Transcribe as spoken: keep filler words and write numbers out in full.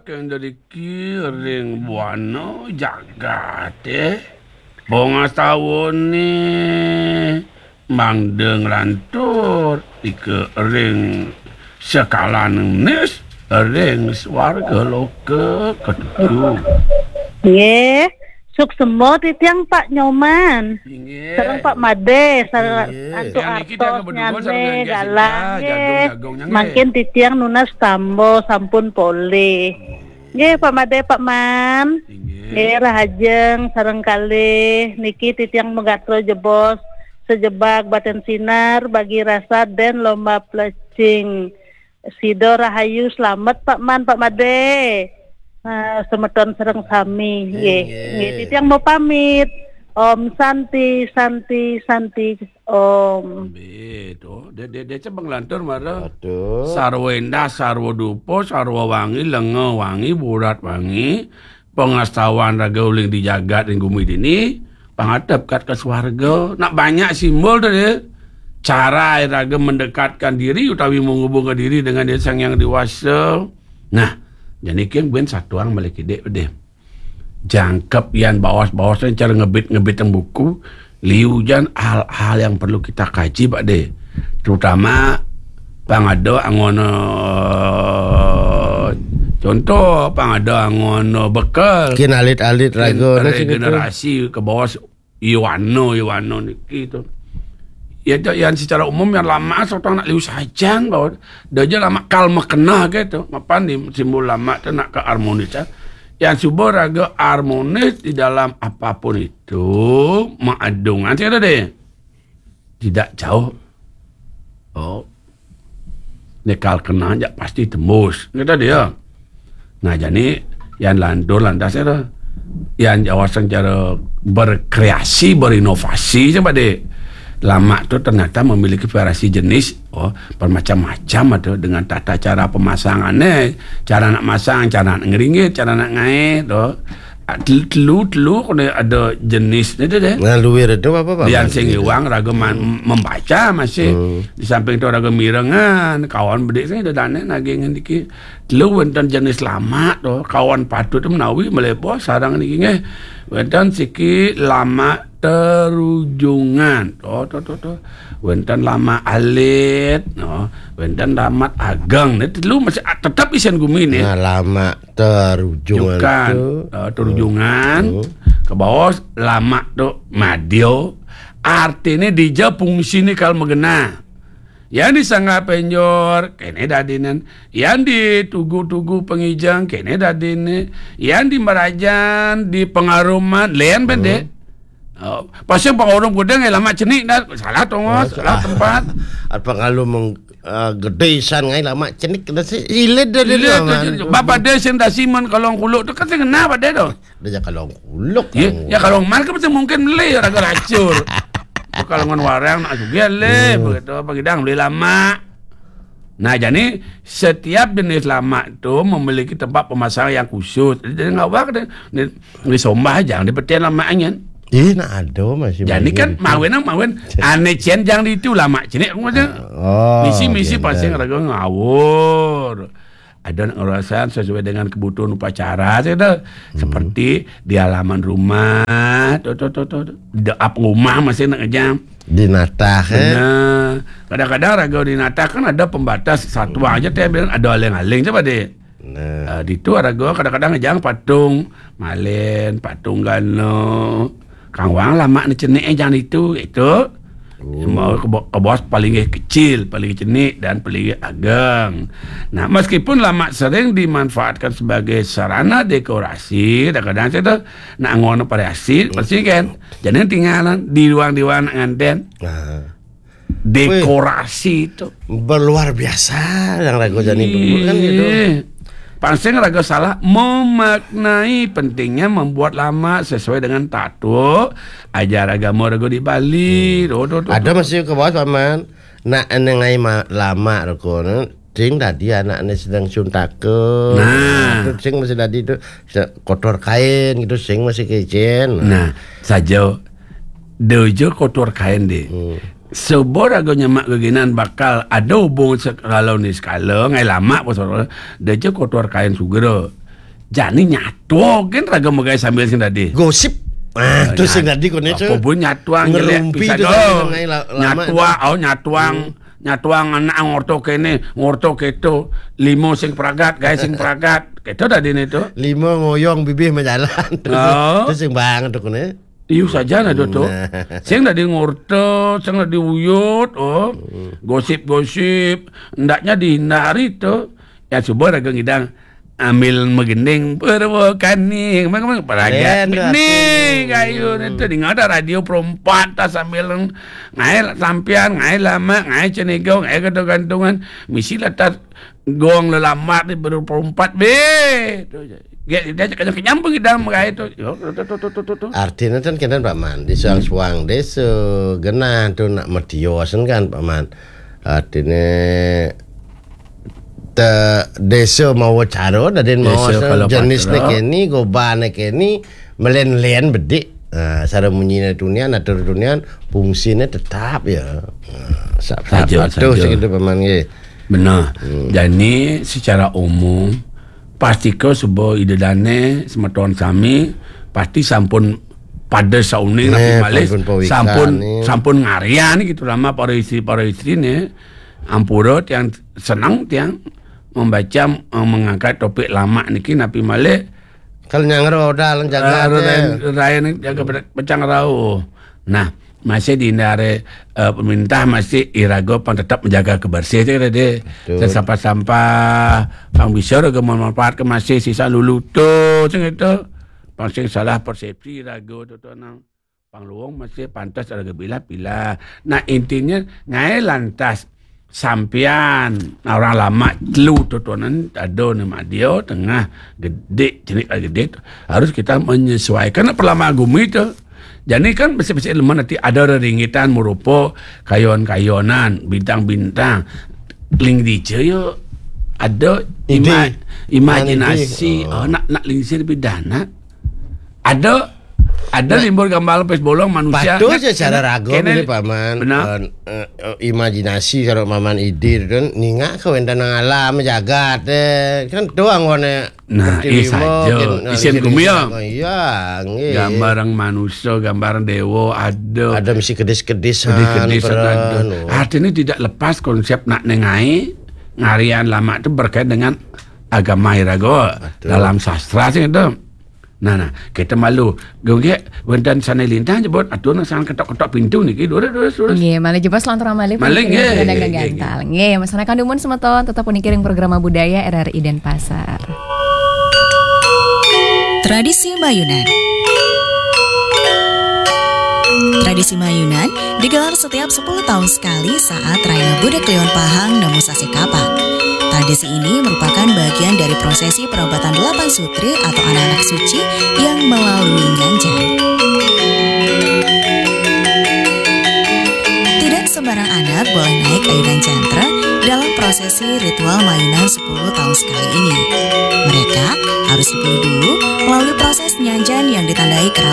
Kang dariki ring buana jagaté, pangastawone mangda nglantur ika ring sekalaning nis ring swarga loka katuju. Nggih, suksma titiang Pak Nyoman. Inggih. Sareng Pak Made, sareng Inggih. Antuk Yang niki tiang berdua sareng artosnyane Yang Jessica, galang, nggih. Jagung-jagungnya, nggih. Mangkin titiang nunas tamba sampun polih. Nggih, Pak Made, Pak Man. Inggih. Nggih, rahajeng sareng kalih. Niki titiang magatra jebos sejebag Batin Sinar, Bagi Rasa, dan Lomba Plecing. Sida rahayu, slamet, Pak Man, Pak Made. Eh, semeton sareng sami, nggih. Inggih. Nggih, titiang mau pamit. Om Santi, Santi, Santi, Om. Nggih, to. Dek, dek, dek, cebeng lantur, mara. Aduh. Sarwa endah, sarwa dupa, sarwa wangi, lenga wangi, burat wangi. Pangastawan raga uling di jagat ring gumi dini, pangatep kat ka swarga. Nak banyak simbol to, dek. Cara raga mendekatkan diri utawi menghubungkan diri dengan Ida Sang Hyang Dewasa. Nah, jani king ben satuang malih kidik, dek. Jangkep yan baos-baos cara ngebit-ngebit yang buku, liu jan hal-hal yang perlu kita kaji, Pak De. Terutama pang ada anggon, eh, contoh, pang ada anggon, eh, bekel. Kin alit-alit raga, kin nah, sing regenerasi ke bawah Iwano, Iwano niki to. Ya, to, yang secara umum yang lama, sotong nak liu sajan bahwa dia aja lama kal makena gitu. Mapan di simbol lama tu nak ke harmonis, ya. Yang suba raga harmonis di dalam apapun itu, maadungan sih ada deh. Tidak jauh. Oh. Nekal kena aja pasti tembus. Kata dia. Nah, jani yang lantur lantas itu. Yang jawab cara berkreasi, berinovasi coba deh. Lama tu ternyata memiliki variasi jenis, oh, bermacam-macam ada dengan tata cara pemasangannya, cara nak masang, cara nak ngeringit, cara nak ngae, tu. Ah, tel-, telu, telu kena ada jenis ni tu deh. Nah, luir tu apa, Pak? Yang sing iwang raga man-, membaca masih. Hmm. Di samping tu raga mirengan, kawan bedik sing ada dane naging dikit. Telu wenten jenis lama tu, kawan patut tu menawi melepo sarang niki nggih. Wenten siki lama terujungan. Tu, tu, tu, tu. Wenten lama alit, no. Wenten lama ageng. Ni telu masih a-, tetap isian gumi ni. Nah, lama terujungan Jukan, tu. Eh, terujungan. Hmm. Ke bawah lama tu madio. Artine dija fungsi ni kal magena. Yang di sangga penjor, kene dadinen. Yang di tugu-tugu pengijang, kene dadine. Yang di merajan, di pengaruman, len bende. Hmm. Oh, pasal pengarum gudang, eh, lama cenik dah. Salah tongos, oh, salah tempat. Apa kalau meng-, eh, gede isan ngai lama cenik dah si ilit dah dia. Ilit dah, Bapak dia sing dasiman kalong kuluk tu kan sing kena pada tu. Dia ya kalong kuluk. Ya, ya kalong man kan mesti mungkin beli raga racur. Kalau ngan warang nak juga le, hmm, begitu apa gidang beli lama. Nah, jadi setiap jenis lama tu memiliki tempat pemasangan yang khusus. Jadi, dia ngawak dia. Ni, ni sombah aja, dia peten lama anyan. Eh, nak ada masih. Jadi kan mawin, mawin. Ane cen jang di itu lama. Cini aku macam. Oh, misi-misi pasti raga ngawur. Ada nak ngerasain sesuai dengan kebutuhan upacara, saya dah. Hmm. Seperti di halaman rumah, tu, tu, tu, tu. Di ap rumah masih nak ngejam. Di natah, eh? Benar. Kadang-kadang raga di natah kan ada pembatas satu aja, teh bilang ada aling-aling, coba deh. Nah. Ah, di tu raga kadang-kadang ngejang patung malen, patung gana. Kang Wang lama ni cenik, eh, jang di tu, itu. Oh. Mau ke bo-, ke bos paling kecil, paling cenik, dan paling ageng. Nah, meskipun lama sering dimanfaatkan sebagai sarana dekorasi, kadang-kadang saya tu nak ngono variasi, pasti kan. Jadi tinggalan di ruang-ruang nak nganten. Nah. Dekorasi itu. Berluar biasa yang raga jani dulu kan gitu. Ih. Pansing raga salah memaknai pentingnya membuat lama sesuai dengan tatuk ajar agama raga di Bali. Hmm. Tuh, tuh, tuh, ada tuh. Masih ke bawah, Paman. Nak eneng ai ma-, lama raga, nah. Sing tadi anak ni sedang suntaka. Nah. Itu sing masih tadi tu se-, kotor kain gitu, sing masih kecil. Nah, saja. Dojo kotor kain deh. Hmm. Sebor ago nyemak geginan bakal ada hubung sekala ni sekala, ngai lama pasal. Dojo kotor kain sugra. Jani nyatuang kan raga magaé sambil sing dadi. Gosip. Ah, tu sing dadi koné tu. Apa bu nyatuang jelek ngerumpi pisan tu dong. Sambil ngai la-, lama nyatuang, tu. Oh, nyatuang. Hmm. Nyatuang anak ngorto kéné, ngorto kéto. Lima sing pragat, gaé sing pragat. Kéto dadi né tu. Lima ngoyong bibih majalan. Oh. Tu sing banget tu koné. Iu saja nah tu. Nah. Sing dadi ngorto, sing dadi uyut, oh. Hmm. Gosip-gosip, hendaknya dihindari tu. Ya coba raga ngidang ambil magending Purwakani, kemana-kemana, pragat. Nih, kayu nih tuh, dengar ada radio perempat, tas sambil ngaé sampian, ngaé lama, ngaé cenegong, ngaé gantung-gantungan, misi lah tas gong lelamat di baru perempat, bé. Tuh, dia, dia kenyang-kenyang pergi dalam ngaé tuh. Yo, tuh, tuh, tuh, tuh, tuh, tuh. Artinya kan kena Pak Man, di suang-suang désa, genah tuh nak mertiosan kan, Pak Man. Artinya te désa mawa cara, dadin mawa jenisné kéné, gobané kéné, melen-len bedik. Nah, sara munyiné tunian, atur tunian, fungsiné tetap ya. Nah, sa-, saja, patuh saja. Segitu paman nggih. Benar. Hmm. Jani secara umum, pastika suba Ida Dané, semeton sami, pasti sampun pada sauning, napi malih, sampun pawikan sampun, nih. Sampun ngaryan gitu lama para istri, para istri nih. Ampura tiang seneng tiang membaca, eh, mengangkat topik lama niki napi malih. Kalau nyang roda lan jaga, eh, roda, roda jaga pe-, pecang rauh. Nah, masih dihindari, eh, pemerintah masih iraga pang tetap menjaga kebersihan, saya kira deh. Betul. Dan sampah-sampah pang bisa raga manfaat ke masih sisa lulutu, sing itu. Pang sing salah persepsi raga tu, tu, nang. Pangluung masih pantas ada gebilah-bilah. Nah, intinya, ngaé lantas sampian orang lama telu tutunan ada nama dia tengah gede, jenis gede tu, harus kita menyesuaikan perlama gumi tu. Jadi kan besi-besi lemah nanti ada reringitan merupa kayon-kayonan, bintang-bintang. Ling dice yo ada ima-, ide. Imajinasi. Ide. Oh. Oh, nak, nak ling dice lebih dana. Ada, ada nah, limbur gambar lempis bolong manusia. Patuh kan, secara ragu kena, ini, Paman. Benar. Eh, eh, eh, imajinasi kalau Paman ide kan ningak ke wénten nang alam jagat, eh. Kan tuh anggone. Nah, seperti iya lima, saja. Isin gumi ya. Iya, nggih. Gambaran manusia, gambaran dewa, ada. Ada mesti kedis-kedisan, kedis-kedisan peran, ada. Oh. Artinya tidak lepas konsep nak nengai, ngarian lama itu berkait dengan agama iraga. Betul. Dalam sastra sih itu. Nah, nah, kita malu. Gongge, wénten sané lintang jebot, atur nang sané ketok-ketok pintu niki, durus, durus, durus. Nggih, malih jebos lantur malih. Malih, nggih, nggih, nggih. Gantal. Nggih, masyarakat dumun semeton, tetap puniki ring programa budaya R R I Denpasar. Tradisi Mayunan. Tradisi Mayunan digelar setiap sepuluh tahun sekali saat Raina Budak Kliwon Pahang nemu sasih kapak. Tradisi ini merupakan bagian dari prosesi perobatan delapan sutri atau anak-anak suci yang melalui nyanjan. Tidak sembarang anak boleh naik ayunan jantra dalam prosesi ritual mayunan sepuluh tahun sekali ini. Mereka harus dipilih dulu melalui proses nyanjan yang ditandai kerabat